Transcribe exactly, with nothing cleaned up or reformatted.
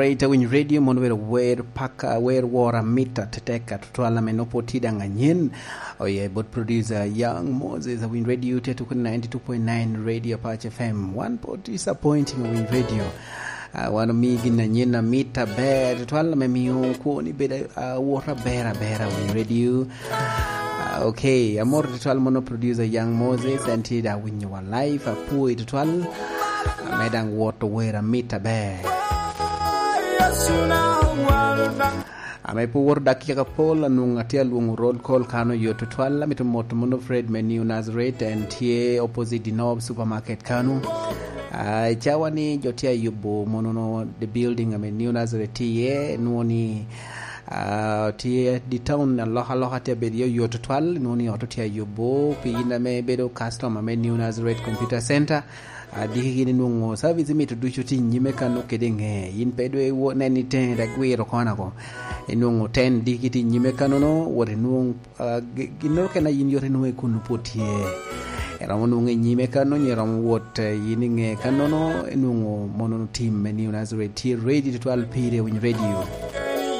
Ite winy radio mono wero wer paka, wer wora mita teteka tutwal ame nopo ti daŋ anyen. Oye bot producer Young Moses, winy radio te tuko ninety two point nine Radio Patch F M. One po disappointing winy radio. Ah, wan omi gin anyen amit aber tutwal ame miyo kwoni bedo awot aber aber winy radio. Ah, okay, amor tutwal mono producer Young Moses, en ti da winyo wa live, apoi tutwal. Ame daŋ wot ower amit aber. Ame pe owoto dakika pol, anwoŋo atye alwoŋo roll call kan oyo tutwal. Amito moto mono Fred me New Nazareth, en tye opposite Dinob Supermarket kanu. Ah, i cawa ni jo tye ayubo mono no the building ame New Nazareth tye iye, nwoŋo ni, ah, tye the town alokaloka tye abedo iye oyo tutwal, nwoŋo ni ot tye ayubo pi in ame bedo customer me New Nazareth Computer Center. Adiki gin inwoŋo service imito ducu tye i nyime kano kede ŋe. In pe dwe iwo nen i teŋe dek gwiro kona ko. Inwoŋo ten diki tye i nyime kanono, wot inwoŋ, ah, gi-, ginnoro kena yin yot inwoŋo i kun pwod tye. Iromo nwoŋo i nyime kano, nyo iromo wot, eh, yin i ŋe kanono, inwoŋo mono tim me New Nazareth tye ready tutwal pire winy radio.